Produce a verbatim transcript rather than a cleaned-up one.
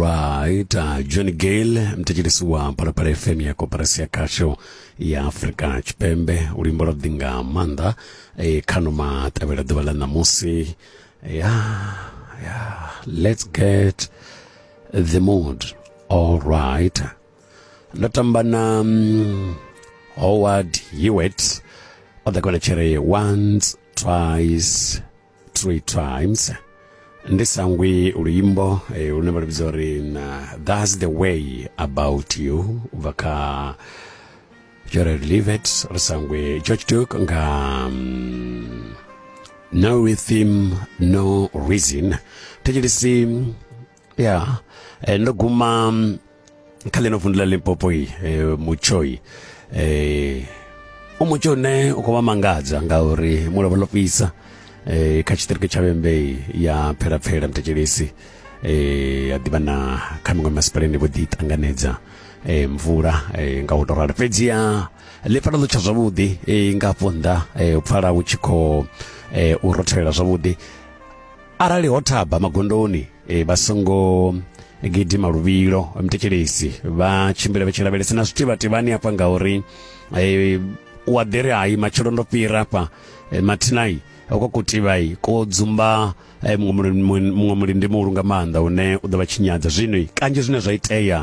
Right, uh, John Gale mthetshelesi wa Phalaphala F M ya Koporasi ya Khasho ya Afrika Tshipembe, luimbo lwa ḓi nga maanḓa e, khano maṱavhela ḓuvha ḽa ṋamusi ya ya let's get the mood all right. Ndo tamba na um, Howard Hewett, o ḓa kona tshere once, twice, three times. Ndi sangwi luimbo eh, lune vha lu vhidza uri na "That's the Way About You" u bva kha Gerald Levett. Ri sangwe George Duke nga um, "No Rhythm No Reason". Thetshelesi ya eh, ndo guma mm, kha ḽino vundu ḽa Limpopo i eh, mutsho eh, u mutsho une u khou vha mangadza ngauri mulovha ḽo fhisa eh, kha tshiṱiriki tsha Vhembe ya Phelapfhela, mthetshelesi eh, ya ḓivha na kha miṅwe masipalani vho ḓi ṱanganedza eh, mvula eh, nga u tou ralo, fhedziha ḽi pfala ḽo tsha zwavhuḓi eh, nga afho nnḓa eh, u pfala hu tshi khou eh, u rothelela zwavhuḓi. Arali ho thaba magondoni e, vha songo gidima luvhilo, mthetshelesi, vha tshimbile vha tshi lavhelesa na zwitivhativhani hafha ngauri e, u a ḓiri hai matshelo ndo fhira hafha e, mathinai ko kutivhai ko dzumba e, muṅwe mulindi muhulu nga maanḓa une u ḓo vha tshinyadza. Zwino kanzhi zwine zwa itea